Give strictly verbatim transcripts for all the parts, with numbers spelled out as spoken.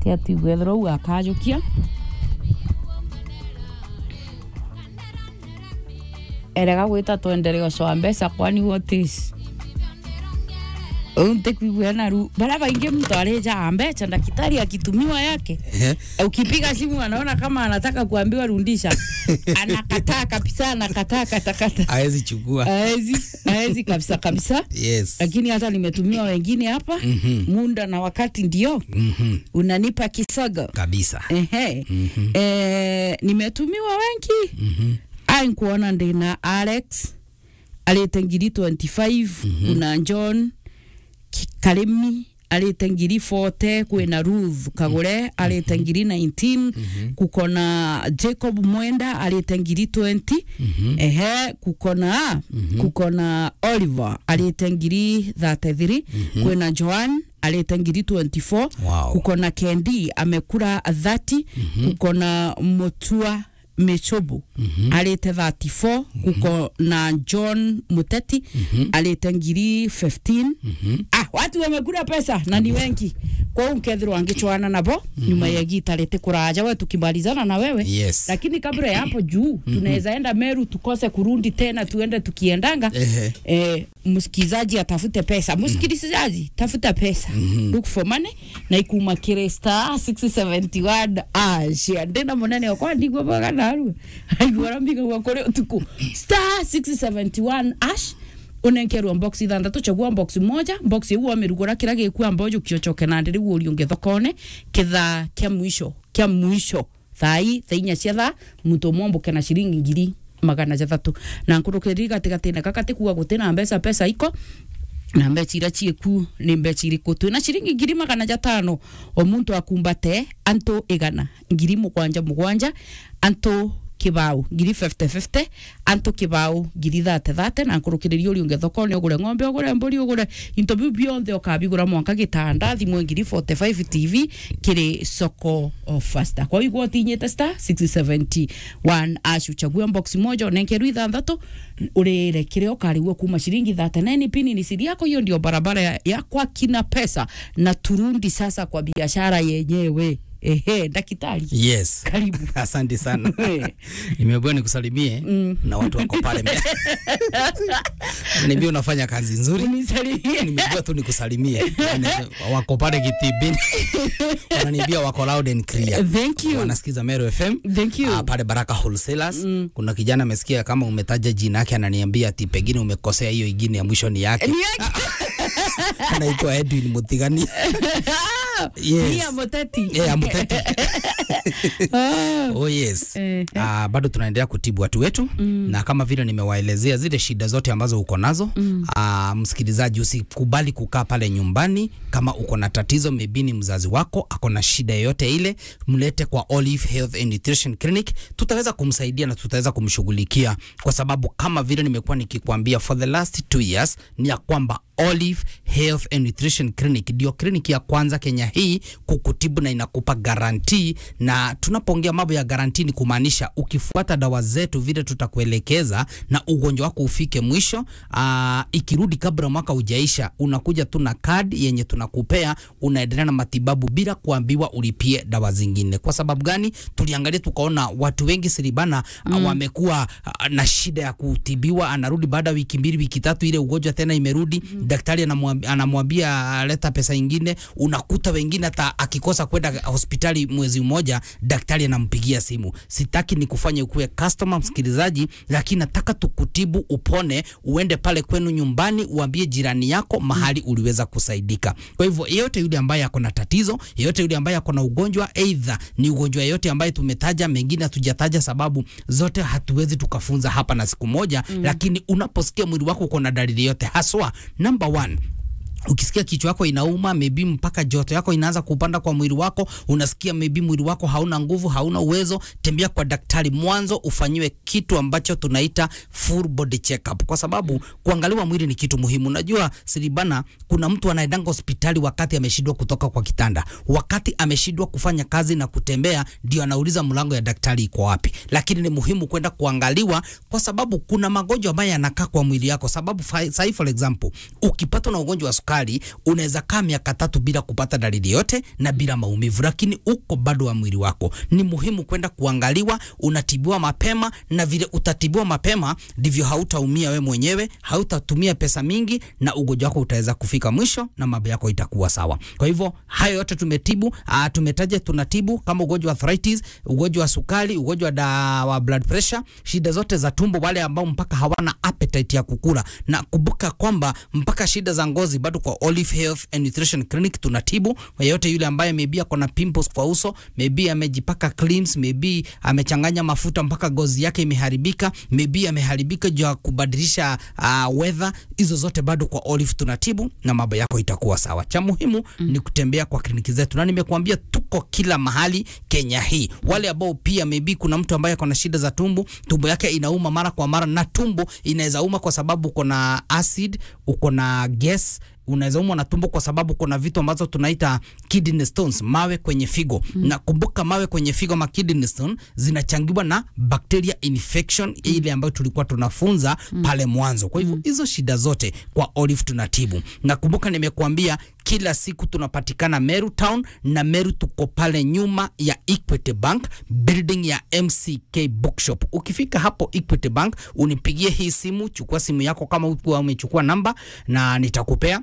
Tia tuigue ethirwa u akajukia. Erega gwita twenderea ucoa mbeca, kwani what is? Uu ntikwigua na ru. Bara baingi mtu arijaa mbeca, daktari akitumiwa yake. Ehe. Ukipiga simu anaona kama anataka kuambiwa rudisha. Anakataa kabisa, anakataa katakata. Haezi chukua. Haezi, haezi kabisa kabisa. Yes. Lakini hata nimetumiwa wengine hapa. Mhm. Muda na wakati ndio. Mhm. Unanipa kisogo. Kabisa. Ehe. Mhm. Eh, nimetumiwa wengi. Mhm. Ai, nkuona ndina Alex, arite ngiri twenty-five, mhm, kuna John Ki-, Karimi, arite ngiri forty, kwina Ruth Kagure, arite, mhm, ngiri nineteen, mhm, kukona Jacob Mwenda, arite ngiri twenty, mhm, ehe, kukona, mhm, kukona Oliver, arite ngiri thirty-three, mhm, kwina Joan, arite ngiri twenty-four, wow, kukona Kendi, amekura thirty, mhm, kukona Mutua Michobo, mhm, arite thirty-four, mhm, kukona John Muteti, mhm, arite ngiri fifteen. Mhm. Ah, watu wamekula pesa na ni wengi. Kwa hiyo nkethirwa ngichwana nabo, mhm, nyuma ya gita riti kuraja, we tukimalizana na wewe. Yes. Lakini kabla ya hapo juu, mhm, tunaweza enda Meru tukose kurudi tena, tuende tukiendanga. Ehe. Eh, msikilizaji atafute pesa. Mhm. Msikilizaji, tafuta pesa. Mhm. Look for money. Na ikuma kiri star six seventy-one hash. Ndina munene okwa ndigwa boga narua. Aigua rambiga gwa kuri utuku. Star six seventy-one hash. Unenkerwa box ithanthatu, chagua box moja, box iu wamirugura kira gikua mbojo kiochoke na ndiri urio nge thokone, kithaa kia mwisho, kia mwisho. Thaa ii, thaa inya cia thaa, muntu umwe omboke na ciringi ngiri magana jathatu. Na nkurukiri gatigatine gaka tikuga gutina mbeca, mbeca iko, na mbeca iria cieku ni mbeca iriku? Twina ciringi ngiri magana jatano, o muntu akumbate antu igana, ngiri mugwanja mugwanja, antu kibao, ngiri fifty fifty, antu kibao, ngiri thate thate, na nkurukiriria uri unge thokone, ugure ng'ombe, ugure mburi, ugure into biu bionthe ukabigura mwanka gitanda, thimu ngiri forty-five, T V kiri soko o faster. Kwa hiyo igwa utinyite star six seventy-one hash, uchagua box moja, unenkerwa ithanthatu, urire kiria ukarigua kuma ciringi thate nine pini ni siri yako. Hiyo ndio barabara ya, ya kwa kina pesa, na turudi sasa kwa biashara yenyewe. Ehe, daktari. Yes. Karibu. Asante sana. Eh. Nimeambiwa nikusalimie, mm, na watu wako pale mbele. Nimeambiwa unafanya kazi nzuri. Unisalimie. Nimeambiwa tu nikusalimie. Yaani, wako pale Kitibini. Wananiambia wako loud and clear. Thank you. Wanasikiza Meru F M. Thank you. Ah, pale Baraka Wholesalers. Mm. Kuna kijana amesikia kama umetaja jina yake, ananiambia ati pengine umekosea, hiyo ingine ya mwisho ni yake. Ni yake. Anaitwa Edwin Mutigani. Yes. Ni ya Muteti. Eh, ya Muteti. Ah. Oh, yes. Eh, eh. Ah, bado tunaendelea kutibu watu wetu, mm, na kama vile nimewaelezea zile shida zote ambazo uko nazo, mm, ah, msikilizaji, usikubali kukaa pale nyumbani. Kama uko na tatizo, maybe ni mzazi wako ako na shida yoyote ile, mlete kwa Olive Health and Nutrition Clinic. Tutaweza kumsaidia na tutaweza kumshughulikia, kwa sababu kama vile nimekuwa nikikwambia for the last two years, ni ya kwamba Olive Health and Nutrition Clinic ndio kliniki ya kwanza Kenya hii kukutibu na inakupa guarantee. Na tunapoongea mambo ya guarantee, ni kumaanisha ukifuata dawa zetu vile tutakuelekeza na ugonjwa wako ufike mwisho, aa, ikirudi kabla mwaka ujaisha, unakuja tu na card yenye tunakupea, unaendelea na matibabu bila kuambiwa ulipie dawa zingine. Kwa sababu gani? Tuliangalia tukaona watu wengi Siribana, mm, wamekuwa, ah, na shida ya kutibiwa, anarudi baada ya wiki mbili, wiki tatu, ile ugonjwa tena imerudi, mm, daktari anamwambi-, anamwambia, ah, leta pesa ingine. Unakuta wengine hata akikosa kwenda hospitali mwezi mmoja, daktari anampigia simu. Sitaki nikufanye ukuwe customer, msikilizaji, lakini nataka tukutibu upone, uende pale kwenu nyumbani, uambie jirani yako mahali uliweza kusaidika. Kwa hivyo, yeyote yule ambaye ako na tatizo, yeyote yule ambaye ako na ugonjwa, either ni ugonjwa yeyote ambaye tumetaja, mengine hatujataja sababu zote hatuwezi tukafunza hapa na siku moja, mm, lakini unaposikia mwili wako uko na dalili yote, haswa, number one, ukisikia kichwa yako inauma, maybe mpaka joto yako inaanza kupanda kwa mwili wako, unasikia maybe mwili wako hauna nguvu, hauna uwezo, tembea kwa daktari mwanzo ufanyiwe kitu ambacho tunaita full body checkup, kwa sababu kuangaliwa mwili ni kitu muhimu. Najua, Siribana, kuna mtu anaendanga hospitali wakati ameshindwa kutoka kwa kitanda, wakati ameshindwa kufanya kazi na kutembea, ndio anauliza mlango ya daktari iko wapi. Lakini ni muhimu kwenda kuangaliwa, kwa sababu kuna magonjwa ambayo yanakaa kwa mwili yako. Sababu fa-, sahi, for example, ukipatwa na ugonjwa wa sukari, hospitali, unaweza kaa miaka tatu bila kupata dalili yote na bila maumivu, lakini uko bado wa mwili wako. Ni muhimu kwenda kuangaliwa, unatibiwa mapema, na vile utatibiwa mapema, ndivyo hautaumia we mwenyewe, hautatumia pesa mingi, na ugonjwa wako utaweza kufika mwisho na mambo yako itakuwa sawa. Kwa hivyo, hayo yote tumetibu, ah, tumetaja tunatibu, kama ugonjwa wa arthritis, ugonjwa wa sukari, ugonjwa da-, wa blood pressure, shida zote za tumbo, wale ambao mpaka hawana appetite ya kukula. Na kumbuka kwamba mpaka shida za ngozi bado kwa Olive Health and Nutrition Clinic tunatibu. Yeyote yule ambaye maybe ako na pimples kwa uso, maybe amejipaka creams, maybe amechanganya mafuta mpaka ngozi yake imeharibika, maybe ameharibika juu ya kubadilisha, ah, weather, hizo zote bado kwa Olive tunatibu na mambo yako itakuwa sawa. Cha muhimu ni kutembea kwa kliniki zetu. Na nimekuambia tuko kila mahali Kenya hii. Wale ambao pia maybe kuna mtu ambaye ako na shida za tumbo, tumbo yake inauma mara kwa mara, na tumbo inaweza uma kwa sababu uko na acid, uko na gas, unaweza umwa na tumbo kwa sababu kuna vitu ambazo tunaita kidney stones, mawe kwenye figo. Na kumbuka, mawe kwenye figo, ma kidney stone, zinachangiwa na bacteria infection ile ambayo tulikuwa tunafunza pale mwanzo. Kwa hivyo, hizo shida zote kwa Olive tunatibu. Na kumbuka, nimekuambia kila siku tunapatikana Meru Town, na Meru tuko pale nyuma ya Equity Bank, building ya M C K Bookshop. Ukifika hapo Equity Bank, unipigie hii simu, chukua simu yako kama ukuwa umechukua namba, na nitakupea.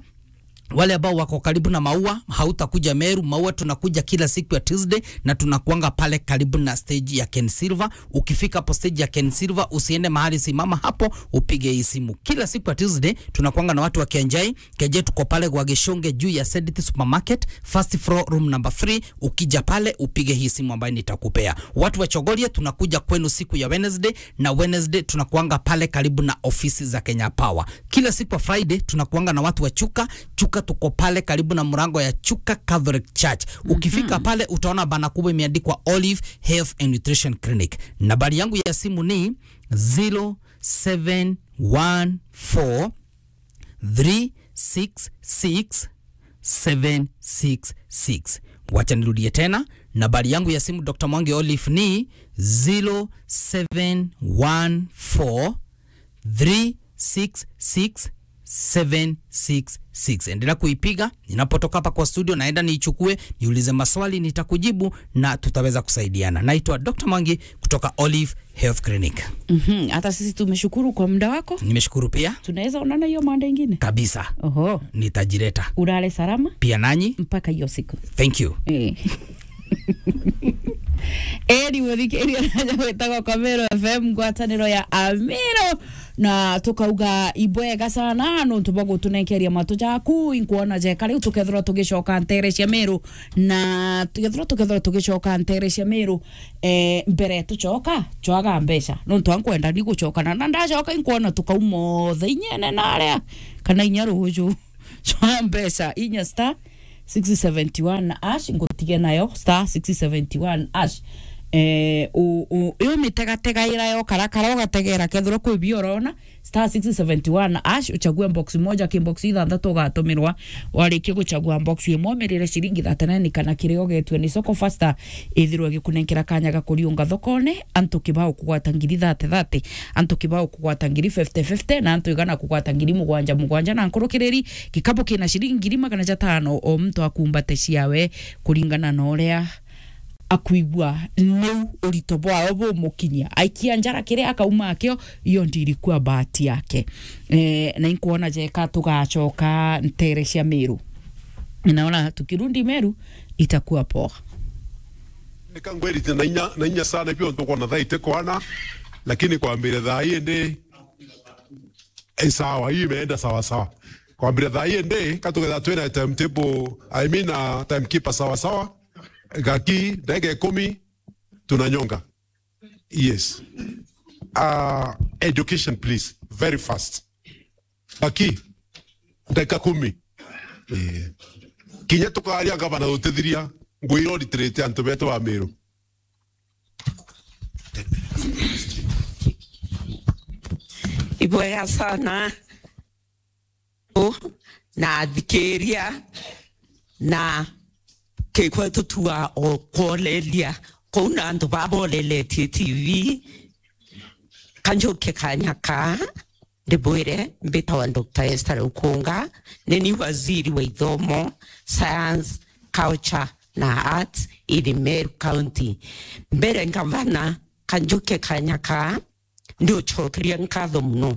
Wale ambao wako karibu na Maua, hautakuja Meru. Maua tunakuja kila siku ya Tuesday na tunakuanga pale karibu na stage ya Ken Silver. Ukifika hapo stage ya Ken Silver, usiende mahali, simama hapo, upige hii simu. Kila siku ya Tuesday tunakuanga na watu wa Kenjai. Kenjai tuko pale kwa Gishonge juu ya Sedit Supermarket, first floor, room number three. Ukija pale, upige hii simu ambayo nitakupea. Watu wa Chogoria tunakuja kwenu siku ya Wednesday, na Wednesday tunakuanga pale karibu na ofisi za Kenya Power. Kila siku ya Friday tunakuanga na watu wa Chuka. Chuka tuko pale karibu na mlango ya Chuka Catholic Church. Ukifika pale, utaona bana kubwa imeandikwa Olive Health and Nutrition Clinic. Nambari yangu ya simu ni zero seven one four three six six seven six six. Wacha nirudie tena, nambari yangu ya simu, Doctor Mwangi Olive, ni zero seven one four three six six seven six six. Endelea kuipiga. Ninapotoka hapa kwa studio, naenda niichukue, niulize maswali, nitakujibu na tutaweza kusaidiana. Naitwa Doctor Mwangi kutoka Olive Health Clinic. Mhm, hata sisi tumeshukuru kwa muda wako. Nimeshukuru pia. Tunaweza onana hiyo Monday ingine? Kabisa. Oho. Nitajileta. Ulale salama. Pia nanyi. Mpaka hiyo siku. Thank you. Eh. Eri muthikiria naja gwitagwo kwa Meru F M, ngwataniro ya Amiru, na tukauga ibwega sana nontu bwa gutunenkeria matu jaku. Inkwona jeka riu tukethirwa tugicoka ntere cia Meru, na tukethirwa tukethirwa tugicoka ntere cia Meru, eh, mbere tucoka cwaga mbeca, nontu ankwenda ni gucokana na ndacoka inkwona tukauma othe inyene naria kana inya ruju. Cwa mbeca inya star six seventy one hash, ngutige nayo star six seventy one hash. Eh, u, u, yo mitegategaira yo karakara ugategera kethirwa kwi bio urona, star six seventy one hash, uchague box moja, ki box ithanthatu ugatumirwa. Warikia guchagua box imwe, umirire ciringi thirty nine kana kiria ugetue ni soko faster, ithirwe gikunenkera kanya ga kuriunga thokone. Antu kibao kugwata ngiri thirty thirty, antu kibao kugwata ngiri fifty fifty, na antu igana kugwata ngiri mugwanja mugwanja na nkurukiriri. Gikabu kina ciringi ngiri magana jatano, o muntu akumbate ciawe kuringana na uria akwigua niu urito bwao bumukinyia. Aikia njara kiria akauma akio, iyo ndirikua bahati yake. Eh, na inkwona jeka tugacoka ntere cia Meru. Naona tukirudi Meru itakuwa poa. Nika ngwirite na inya, na inya sana pia ntukwona thaa itikwana, lakini kwambire thaa ii ndi, eh, sawa, hii imeenda sawa sawa. Kwambire thaa ii ndi, katugetha twina timetable, I mean, uh, timekeeper sawa sawa. Gaki, ndagika ikumi, tunanyonga. Yes. Uh, education, please. Very fast. Gaki, ndagika kumi. Eh. Kinya tukaria gavana utithiria, ngwira uritiritie antu betu ba Meru. Ibwega sana. Na athikiria na kikwe tutua o kwoleria kuu na antu baboleletie T V. Kanjuke kanya kaa Ndibwire, mbitawa Doctor Esther Ukunga, ni ni waziri wa ithomo, science, culture na arts in Meru County. Mbere ngavana, kanjuke kanya kaa, ndiucokeria nkatho muno.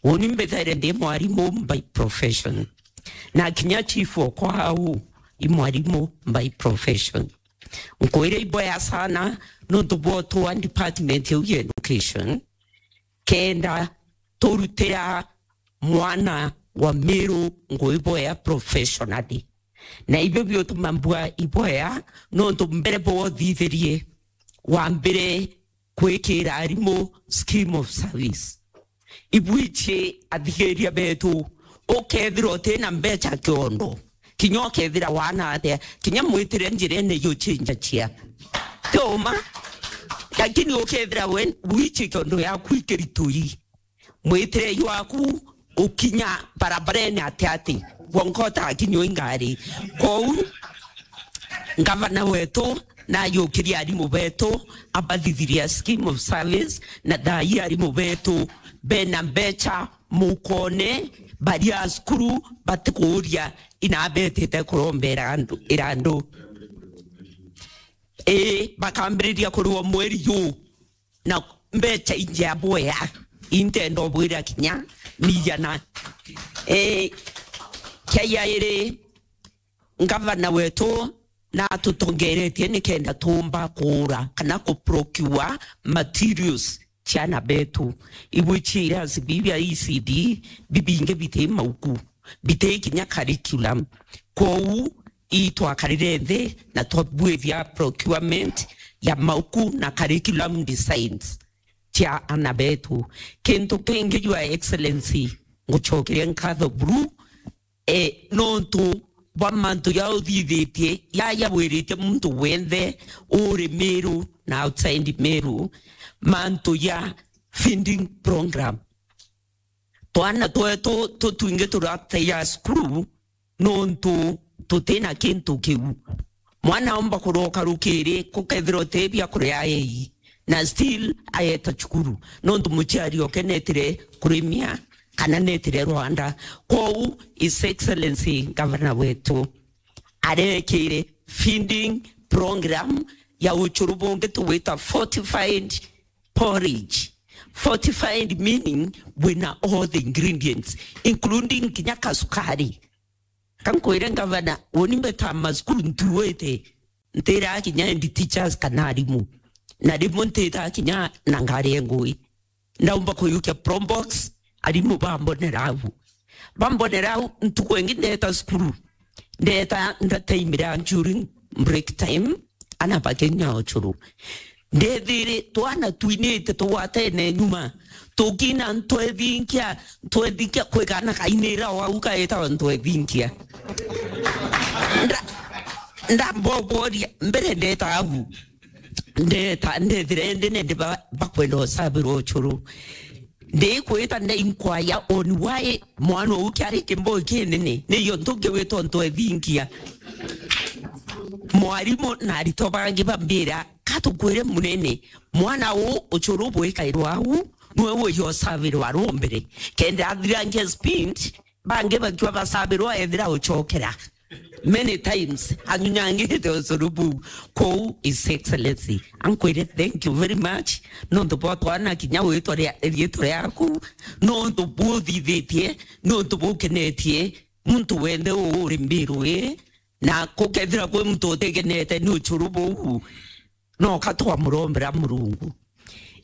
Uni mbithaire ndi mwarimu by profession, na kinya chief okwa au i mwarimu by profession. Nkwire iboya sana nontu bwa utwa department iu ya education, kenda turutira mwana wa Meru ngui boya professionally. Na ibio biutuma mbua iboya, nontu mbere bwothithirie wambire kwikira arimu scheme of service. Ibwichi athigiria betu, ukethira uti na mbecha kiondo, kinya ukethira wana atia, kinya mwitire njirene yuchinjachia. Ti uma, lakini ukethira we wichi kiondo yaku ikiritui, mwitire jwaku ukinya barabarene ati ati, wonka utakinywa ingari. Kou ngavana wetu najukirie arimu betu, abathithiria scheme of service, na thaai arimu betu bena mbecha mukone, baria cukuru batikuuria inabetite kurombera andu, irandu. Ii, bakambiriria kuriwa mweri juu na mbecha injia bwea, intenda ubwira kinya miigana. Eh, kia yairi, ngavana wetu natutongeretie nikenda tuumba kuura kana ku procure materials ciana betu. Ibwichi irasi bibia E C D bibingi biti mauku, biti kinya curriculum. Kwou itwakarire nthi na twabwithia procurement ya mauku na curriculum designs cia ana betu. Kintu kingi, Your Excellency, ngucokeria nkatho buru, e, nontu bwa mantu ja uthithitie, ja jabwiritie muntu wenthe uri Meru na outside Meru, mantu ja feeding program. Twana twetu tutwingi turataia cukuru nontu tutina kintu kiu. Mwana omba kuroka rukiri, kukethirwa uti bia kuria ei, na still aeta cukuru, nontu muciari oke netire kurimia kana netire rwanda. Kwou His Excellency Governor wetu arekire feeding program ya ucuru bungi tugwita fortified porridge. Fortified meaning wina all the ingredients, including kinya kasukari. Kankwire ngavana, uni mbeta macukuru ntuite, ntira kinya head teachers kana arimu, na rimwe ntita kinya na ngari ya ngui. Ndaumba kuyukia probox, arimu bambonera au. Bambonera au, ntuku ingi ndeta cukuru, ndeta ndataimira during break time, ana bakinya ucuru. Ndethire twana twinite tugwatene nyuma, tukina ntwethinkia, ntwethinkia kwigana kainira o au kaitawa ntwethinkia. Nda-, ndamboboria, mbere ndeta au. Ndeta, ndethire ndi nende ba-, bakwenda usabirwa ucuru. Ndikwita ndainkwaya on why mwana uu kiari kimboi kinene, niyo ntungi witwa ntwethingia. Mwarimu na aritwa bangi bambira, katukwire munene, mwana uu ucuru bwikairwa au, niwe uyo usabirwa rumbere. Kenda athirangia speech, bangi bakiwa basabirwa ethira ucokera. Many times, anyunyangite ucuru buu. Kwou, His Excellency, ankwire, thank you very much, nontu bwa twana kinya witwa ria-, riitwa riaku, nontu buthithitie, nontu bukenetie muntu wenthe uu uri Mbiru ii, na kukethira kwi muntu utikenete ni ucuru buu, no ka twamurombera Murungu.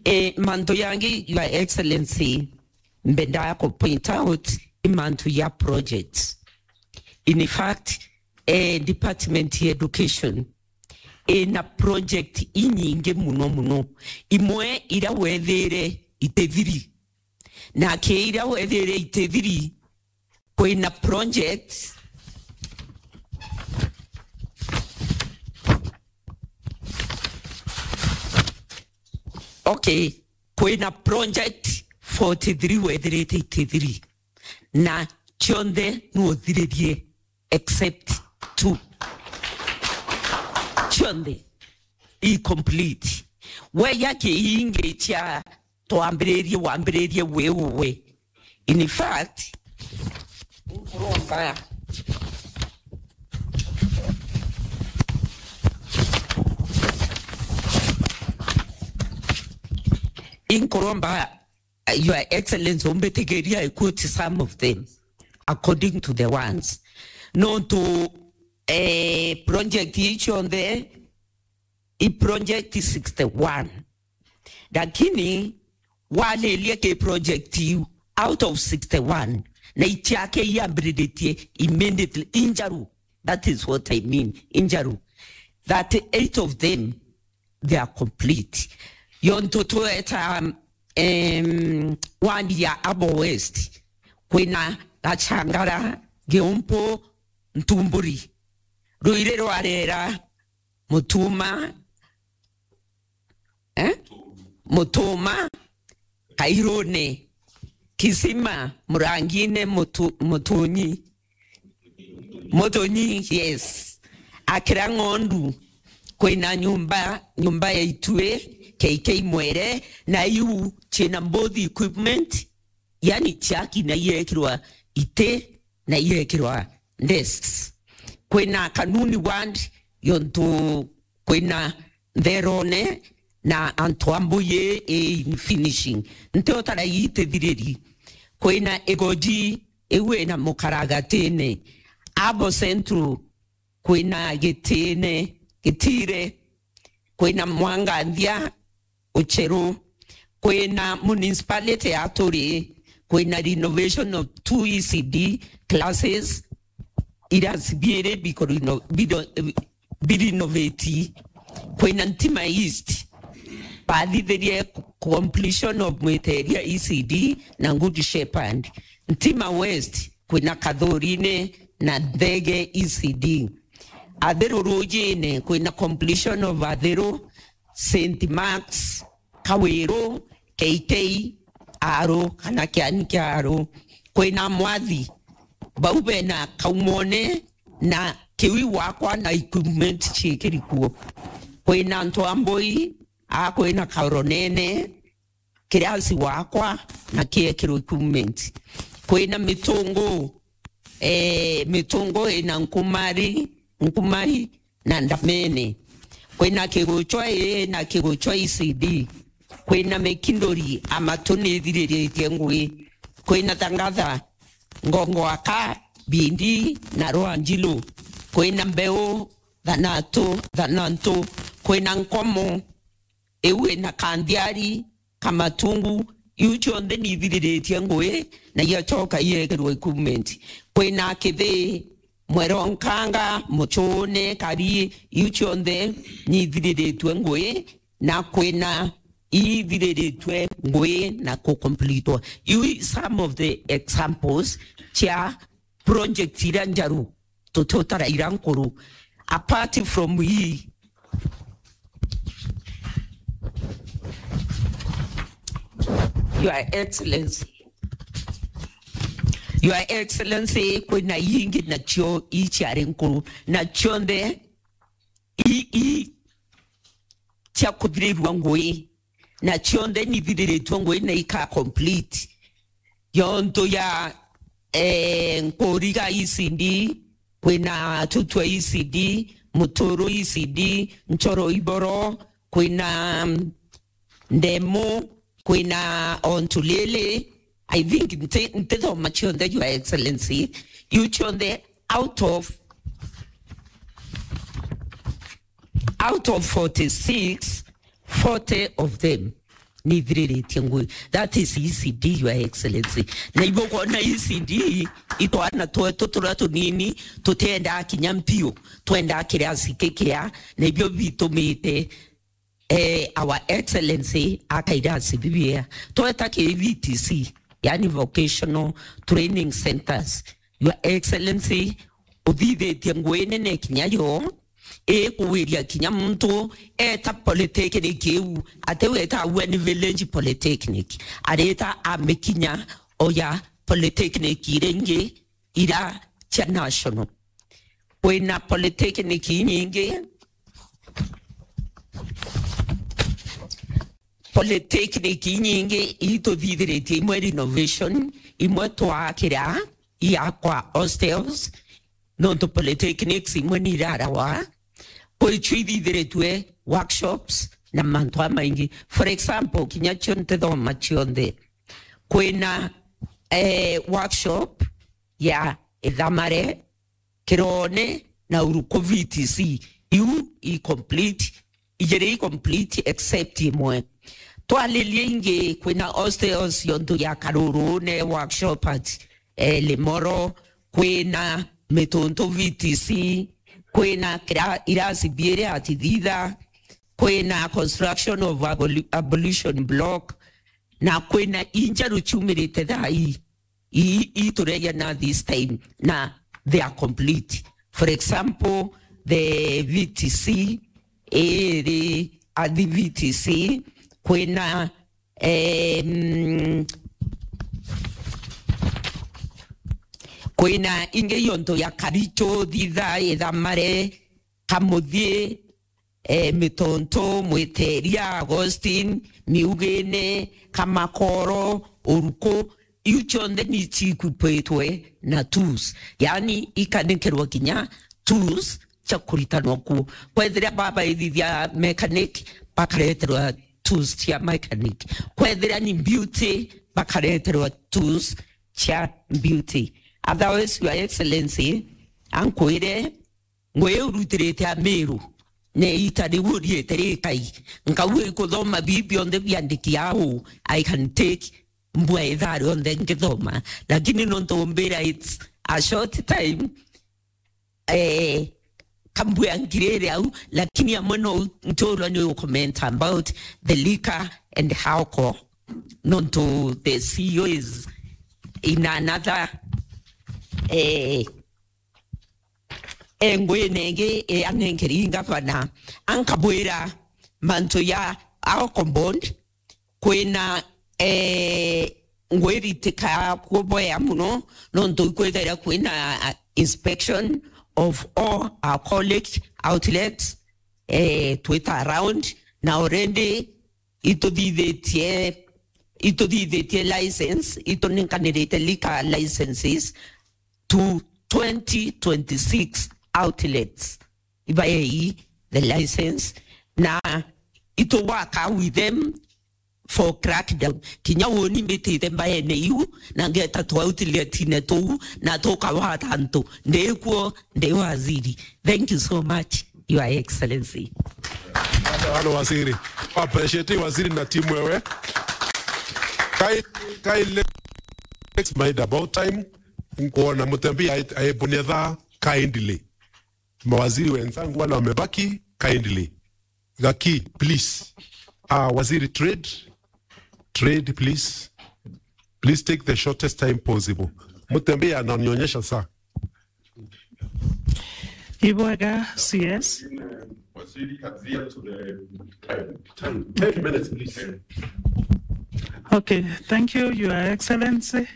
E, mantu yangi, Your Excellency, mbendaa ku point out i mantu ya projects. In fact, e, department ya education ina project inyingi muno muno. Imwe ira wethire itithiri, na ki ira wethire itithiri, kwina project, okay, kwina project forty-three wethirite itithiri, na cionthe nuthiririe except two. Cionthe i complete. We ya kiingi cia twambiririe, wambiririe wi uwe. In fact, nkuromba, nkuromba, Your Excellency, umbitikiria I quote some of them according to the ones. Nontu, eh, project ii cionthe, i project sixty-one. Lakini waririe ki project iu, out of sixty-one, na ichake iambiriritie immediately, injaru. That is what I mean, injaru. Thirty-eight of them, they are complete. Yontu tweta, em, wandi ya Abo West, kwina Gachangara, Giumpu, Ntumburi, Ruiri rwa Rera, Mutuma, eh? Mutuma, Kairune, Kisima, Murangine, Mutu-, Mutunyi, Mutunyi, yes. Akira Ng'ondu, kwina nyumba, nyumba ya Itue, K K Mwere, na iu china both equipment, yani chaki na iekirwa iti, na iekirwa desks. Kwina Kanuni ward, yontu kwina ntherone na antu a mbuyi i in finishing. Nti utara itithiriri. Kwina Igoji, iu ina Mukaragatine. Abo Central, kwina Gitine, Gitire, kwina Mwanganthia, Ucheru, kwina municipality ya Turi, kwina renovation of two E C D classes, irasi biiri biko reno-, bido-, birinovate, kwina Ntima East, bathithirie completion of Mwiteria E C D na Good Shepherd, Ntima West, kwina Kathurine na Nthege E C D. Athiru Rujine, kwina completion of Athiru, Saint Mark's, Kawiru, K K, Aru, kana Kiani kia Aru. Kwina Mwathi, bau bena Kaumone na Kiwi wakwa na equipment ciikiri kuo. Kwina Ntwambui, a kwina Kaoronene, kirasi wakwa na kiekirwe equipment. Kwina Mitungu, eh, Mitungu ina Nkumari, Nkumai na Ndamene. Kwina Kiguchwa ii na Kiguchwa E C D. Kwina Mikinduri, Amatu nithiriritie ngui. Kwina Thangatha, Ngongo Aka, Bindi na Rwanjiru. Kwina Mbeu, Thanatu, Thanantu. Kwina Nkomo, iu ina Kanthiari, Kamatungu, iu cionthe nithiriritie ngui, na iachoka iekirwe equipment. Kwina Kithii, Mwero Nkanga, Muchune, Kari, iu cionthe nithiriritue ngui, na kwina ithiriritue ngui na kucompletwa. Iu i some of the examples cia project iria njaru, tututara iria nkuru. Apart from hii, Your Excellency, Your Excellency, kwina ingi nacio iciari nkuru, na cionthe i, i cia kuthirirua ngui, na cionthe nithiriritue ngui na ika complete. Yontu ya, eh, Nkuriga E C D, kwina Tutwa E C D, Muturu E C D, Nchoro Iboro, kwina, mm, Ndemu, kwina Ontulele. I think nti-, ntithoma cionthe, Your Excellency, iu cionthe out of, out of forty-six, forty of them nithiriritie ngui. That is E C D, Your Excellency. Na ibo kwona E C D, itwana twetu turia tunini, tutiendaa kinya mpio, twendaa kirasi kikia, na ibio bitumite, eh, Our Excellency akairasi bibia. Tweta ki V T C, yani Vocational Training Centers. Your Excellency, uthithitie ngui nene kinya yo, ikuwiria kinya muntu eta polytechnic iu, ati weta Weni Village Polytechnic, areta amikinya oya polytechnic iria ingi ira cia national. Kwina polytechnic inyingi, polytechnic inyingi ituthithiritie imwe renovation, imwe twakira iakwa hostels, nontu polytechnics imwe ni irarawa, kwicio ithithiritue workshops na mantu amaingi. For example, kinya cio ntithoma cionthe, kwina, eh, workshop ya Ithamare, Kirone na Uruku V T C. Iu i complete, ijiri i complete except imwe. Twaririe ingi, kwina hostels yontu ya Karuru ne workshop at, eh, Limoro, kwina Mituntu V T C, kwina kira-, irasi biiri at Thitha, kwina construction of aboli-, ablution block, na kwina injeru ciumirite thaa ii. Ii, ii tureja na this time, na they are complete. For example, the V T C, iri Athi V T C, kwina, em, kwina ingi yontu ya Karicho, Thitha, Ithamare, Kamuthie, eh, Mitonto, Mwiteria, Augustine, Miugine, Kamakoro, Uruku, iu cionthe ni cikwipitwe na tools. Yani, ikanekerwa kinya tools cia kuritanwa kuo. Kwethira babaithithia mechanic, bakareterwa tools cia mechanic. Kwethira ni beauty, bakareterwa tools cia beauty. Otherwise, Your Excellency, ankwire, ngui iu rutirite Amiru, na iita riu uriite rikai, nkauga ikuthoma bii bionthe biandiki au, I can take mbua ithaa rionthe nkithoma, lakini nontu umbira it's a short time, eh, kambua ngirire au, lakini amwe no nturwa ni u comment about the liquor and alcohol, nontu the C E O is in another, eh, engwine ingi iria nenkeri ngavana, ankabwira mantu ya alcohol bond, kwina, eh, ngwiritika kuboya muno, nontu ikwithaira kwina inspection of all alcoholic outlets, eh, twita around, na already ituthithitie, ituthithitie license, ituninkanirite liquor licenses to twenty twenty-six outlets. Ibaei the license, na itu work with them for crackdown. Kinya uni mbitite mbaene iu, na ngeta tu outletine tuu, na tukawata antu. Ndikuo, ndi waziri. Thank you so much, Your Excellency. Halo waziri. Appreciate waziri na timu wewe. Kai, kai, let's mind about time. Nkuona Mutembi ai-, aibunia thaa kindly. Mawaziri wenzangu wale wamebaki, kindly. Gaki, please. Ah, waziri trade, trade, please. Please take the shortest time possible. Mutembi ananionyesha saa. Ibwega, C S. Waziri, adhere to the time. Time. Ten minutes, please. Okay, thank you, Your Excellency.